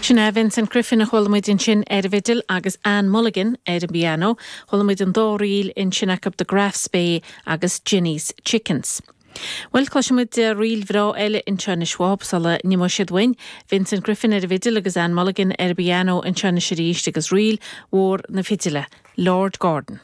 Sin é Vincent Griffin a chuala muid ansin ar an bhfidil agus Anne Mulligan ar an bpianó. Chuala muid an dá ríl ansin acu The Graffs Bay agus Jenny's Chickens. Bhuel, cloisfidh muid ríl bhreá eile anseo anois uathub sula n-imeoidh siad uainn. Vincent Griffin ar an bhfidil agus Anne Mulligan ar an bpianó anseo anois arís agus ríl mhór na fidile, Lord Gordon.